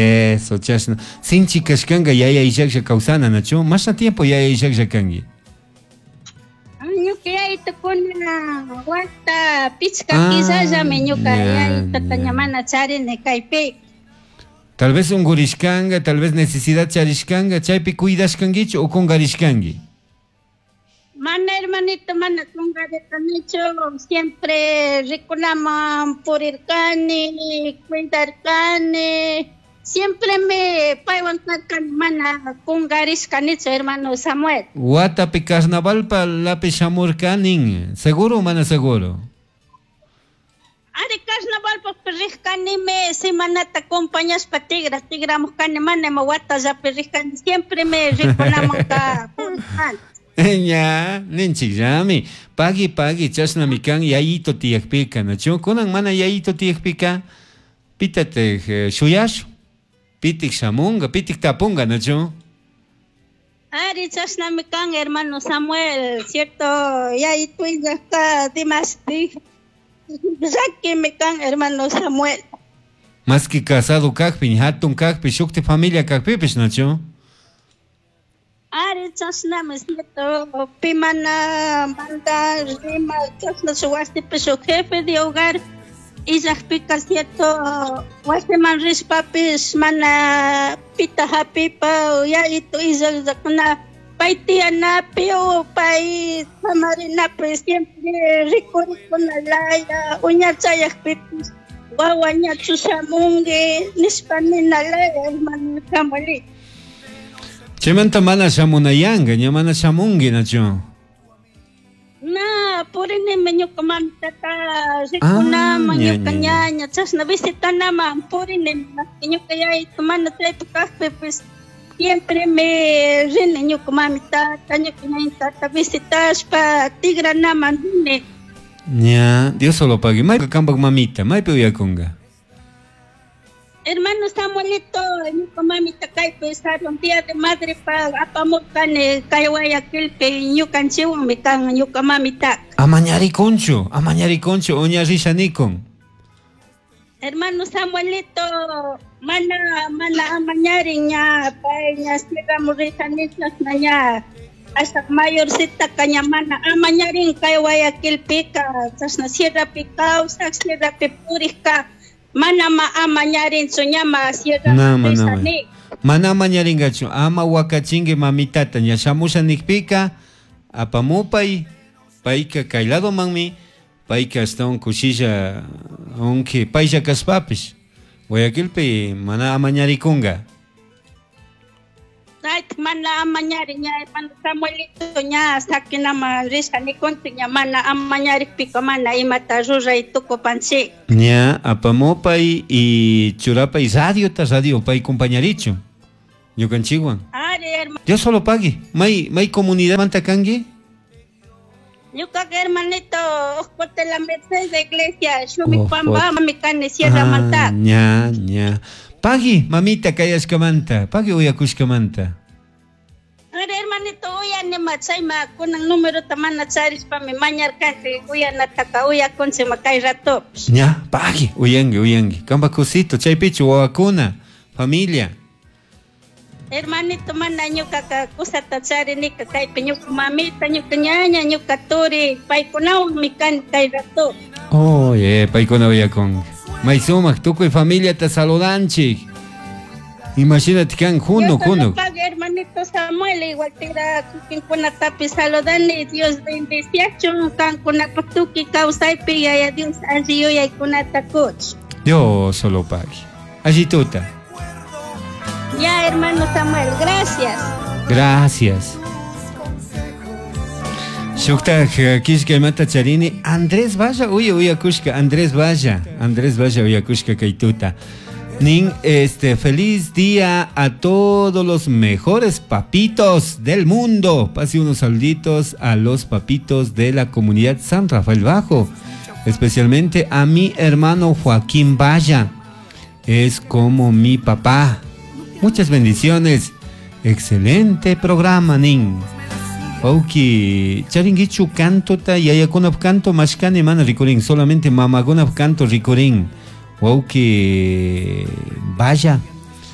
Eso, chashna. Sinchi kashkanga yaya illaklla kawsana, nachu? Mashna tiempo yaya illaklla kanki? Ñuka yayitukuna wata pichka killallami ñuka yayitata ña mana charini kaypi. Tal vez ungurishkanga, tal vez necesidad charishkanga, chaypi cuidashkankichu o kungarishkanki? Mana hermanito, mana kungarirkanichu, siempre rikunaman purirkani, cuidarkani, siempre me paywan karkani, mana kungarishkanichu, hermano Samuel. Watapi carnavalpa lapi shamurkanin, seguro o mana seguro? Ari carnavalpa rijkanimi, semanata acompañashpa tigra, tigramujkani, mana ima watallapi rijkani, siempre me rikunamanka purirkani. Ña, ninchikllami. Pagui, pagui, chashnami kan yayito tiyakpika, nachu? Kunan mana yayito tiyakpika, pitatik shuyashu, pitik shamunga, pitik tapunga, nachu? Ari, chashnami kan, hermano Samuel, cierto, yayito illajka dimashtik llakimi kan, hermano Samuel. Más que casado kakpi, hatun kakpi, shukti familia kakpipish, nachu? Ari, chashnami, cierto, pi mana manda rima, chashna shuk wasipi shuk jefe de hogar illajpika, cierto, wasiman rishpapish mana pita hapipa, yayito illajllakuna pay tiyanapi o pay samarinapi siempre rikurikuna laya, uñachayajpipish wawa ñachu shamunki nishpa nina laya, hermano Samuelito. Chaymanta mana shamunayanga, ña mana shamunki, nachu? Na, purinimi ñuka mamitata rikunaman, ñuka ñaña, chashna visitanaman purinimi, ñuka yayito mana chaypi kajpipish siempre me rini ñuka mamitata, ñuka ñañitata visitashpa tigranaman rini. Ña, Dios solo pague. Maypi kampak mamita, maypi uyakunga? Hermano Samuelito, ñuka mamita kaypi sarun día de madre pa apamurkani kay Guayaquilpi ñukanchikwanmi kan ñuka mamita. Amañarikunchu, amañarikunchu, uña rishanikun. Hermano Samuelito, mana, mana amañarin ña, pay ña sierramu rishani chashna ña, hasta mayorcita ka ña mana amañarin kay Guayaquilpika, chashna sierrapi kawsak, sierrapi purikka, mana ma amañarinchu ñama sierra Nama, nama. rishani. Mana amañaringachu, ama wakachinki mamitata, ña shamusha nikpika, apamupay, payka kay ladomanmi, payka ashtawan kushilla, aunque paylla kashpapish, Guayaquilpi mana amañarikunga. Ay, mana amañari ña, hermano Samuelito, ña sakinama risha nikunchik, ña mana amañarikpika mana imata ruray tukupanchik. Ña apamupay y churapay radiota, radio pay compañarichu, ñukanchikwan. Ari, hermano. Dios solo pague. May, may comunidad manta kanki? Ñuka hermanito, Ojote la Merced de Iglesia, Shumi Ojote. Pamba, mami kani Sierra Ah, Manta. ña, ña. Pagui, mamita kayashkamanta, pagui uyakushkamanta. Ari, hermanito, uyanima, chayma, kunan número tamana charishpami mañarkanchik, uyanataka, uyakunchik kay rato. Ña, pagui, uyangi, uyangi. Kamba kusito, chaypichu, wawakuna, familia. Hermanito, mana ñukaka kusata charinika kaypi ñuka mamita, ñuka ñaña, ñuka turi, paykunawanmi kani kay rato. Oye, paykuna uyakunki. May sumak, tukuy familia te saludanchik. Imagínate kan juno, Dios te juno. lo pague, hermanito Samuel, igual tira kikinkunatapi saludani, Dios bendiciachun, kankunapa tukuy kawsaypi, yaya Dios alli yuyaykunata kuch. Dios solo pague. Allí tuta. Ya, hermano Samuel, gracias. Gracias. Shuktaj kishka imata charini, Andrés Valla, uya, uyakushka, Andrés Valla, Andrés Valla uyakushka kaytuta. Nin, feliz día a todos los mejores papitos del mundo. Pase unos saluditos a los papitos de la comunidad San Rafael Bajo, especialmente a mi hermano Joaquín Valla. Es como mi papá. Muchas bendiciones. Excelente programa, Nin. Oki, charinguichu canto ta yayakunap canto mashkani mana rikurin, solamente mamakunap canto rikurin. Wauki, vaya.